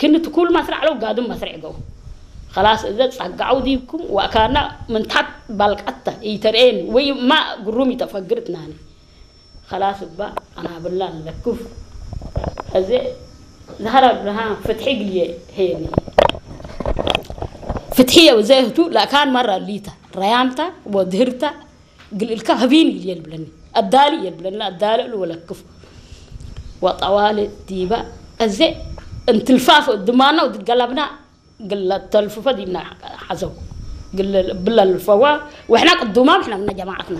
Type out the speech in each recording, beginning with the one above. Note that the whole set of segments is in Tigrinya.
ግን እቲ ኩሉ መስርዕ ለው ጋድም መስርዕ ገው። خلاص እዘ ጸጋዓው ዲብኩም ዋእካና ምንታት ባልቃታ ይተርእየኒ ወይ ማ ግሩም ይተፈግርትናኒ። خلاص እባ ኣናብላ ንለክፍ። እዚ ዛህራ ብርሃን ፍትሒ ግልየ ሄኒ። ፍትሒ የው ዘህቱ ላካን ማራ ሊታ ራያምታ ወድህርታ ግልእልካ ህቢን ግልየ ልብለኒ። ኣዳሊ የልብለኒ ኣዳልእሉ ወለክፍ። ወጠዋል ዲባ እዚ እንትልፋፍ ድማና ውድገላብና ግለ ተልፍፈ ዲና ሓዘው ግለ ብላ ልፈዋ ወሕና ቅዱማ ወሕና ምና ጀማዓትና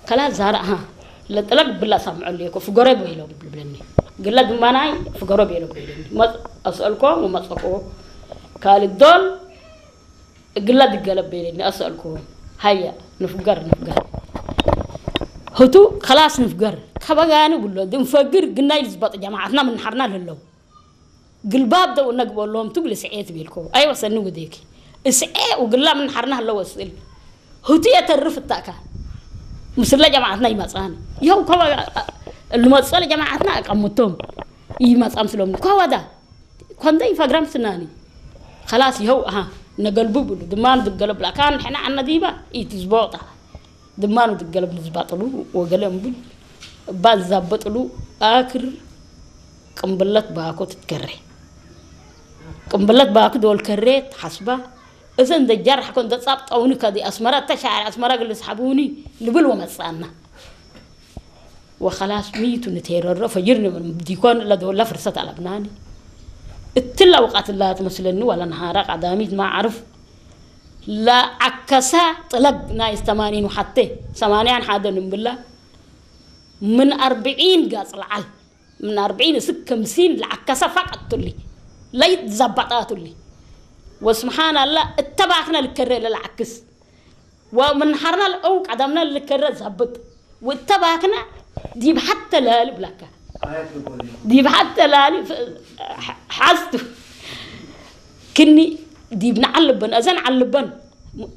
ከላ ዛራ ሃ ለጥለቅ ብላ ሳምዐሉ የኮ ፍገረ በይሎም ብልብለኒ ግለ ድማናይ ፍገረ በይሎም በይለኒ መጽ ኣስአልኮ ወመጸኮ ካልእ ዶል ግላ ድገለ በይለኒ ኣስአልኮ ሃያ ንፍገር ንፍገር ህቱ ከላስ ንፍገር ከበጋኒ ብሎ ድንፈግር ግናይ ልዝባጥ ጀማዓትና ምንሓርና ለለው ግልባብ ደው ነግበሎም ትብል ስዔ ትቤልኮ ኣይወሰኒ ውዴኪ እስዔ ውግላ ምንሓርና ኣለዎ ስእል ህቱ የተርፍ እታካ ምስለ ጀማዓትና ይመጻኒ ይኸው ከበ ልመጸለ ጀማዓትና ኣቀምቶም ይመጻም ስሎም ከወዳ ኮንደይ ፈግራም ስናኒ خلاص ይኸው ኣሃ ነገልቡ ብሉ ድማን ዝገለብላ ካን ሕና ዓነ ዲባ ኢትዝቦጣ ድማኑ ዝገለብ ንዝባጥሉ ወገለ እምብል እባ ዝዛበጥሉ ኣክር ቅንብለት ባኮ ትትከረ ቅንብለት ባኩ ዶል ከሬ ትሓስባ እዘን ደጃር ሓኮን ደጻብጠውኒ ከዚ ኣስመራ ተሻዕር ኣስመራ ግልስ ሓቡኒ ልብል ወመጻና وخلاص ሚቱ ንቴረሮ ፈጅር ዲኮን ለዶላ ፍርሰት ኣለብናኒ እትላ ውቃትላ ትመስለኒ ዋላ ነሃራ ቀዳሚት ማዕርፍ ለዓከሳ ጥለግ ናይ ዝተማኒን ውሓቴ ሰማንያን ሓደን እምብላ ምን ኣርብዒን ጋጽ ለዓል ምን ኣርብዒን እስክ ከምሲን ለዓከሳ ፋቀትቱሊ ለይት ዘባጣቱሊ ወስብሓን ኣላ እተባክነ ልከረ ለለዓክስ ወምንሓርና ልቀው ቀደምና ልከረ ዛብጥ ወተባክና ዲብ ሓተ ላሊ ብላካ ዲብ ሓተ ላሊ ሓዝቱ ክኒ ዲብ ንዓልበን እዘን ዓልበን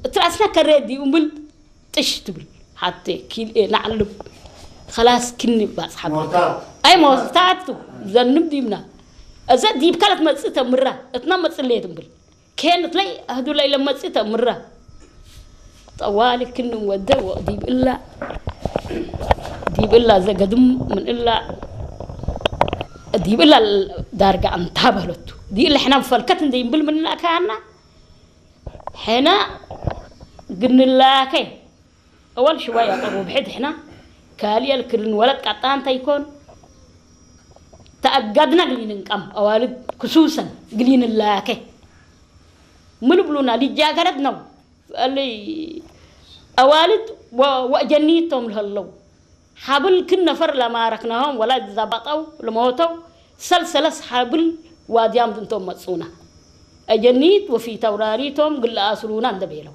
እትራስና ከረ ዲኡ ብል ጥሽ ትብል ሓተ ኪል ንዓልብ خلاص ክኒ ባጽሓ ኣይ ሞታቱ ዘንም ዲብና እዘ ዲብ ካልት መጽእ ተምራ እትና መጽእ ለየ ትብል ኬንት ለይ ኣህዱ ለይ ለመጽእ ተምራ ጠዋሊ ክኒ ወደ ወዲብ እላ ዲብ እላ ዘገድም ምን እላ ዲብ እላ ዳርጋ ኣንታ በለቱ ዲ እላ ሕና ፈልከት እንደ ይንብል ምን እላ ካና ሕና ግንላከ أول شوية قرب حد إحنا كالي الكرن ولد قطان تيكون تأجدنا قليل نقام أوالد خصوصا قليل اللاكه من بلونا لجاكرت نو اللي أوالد وجنيتهم لهاللو حبل كل نفر لما ركناهم ولا زبطوا لموتوا سلسلس حبل واديام دنتم مصونا أجنيت وفي توراريتهم قل أسرونا اندبيلو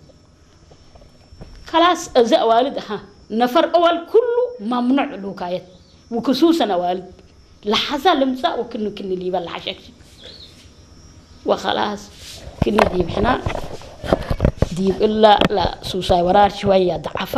خلاص እዚ ኣዋልድ ሃ ነፈር ኣዋል ኩሉ ማምኑዕ ልውካየት وخصوصا ኣዋልድ ለሓዛ ልምፃእ ወክኒ ክኒ ሊባ ለሓሸክሽ وخلاص ክኒ ዲብ ሕና ዲብ እላ ላ ሱሳይ ወራር ሽወያ ደዓፋ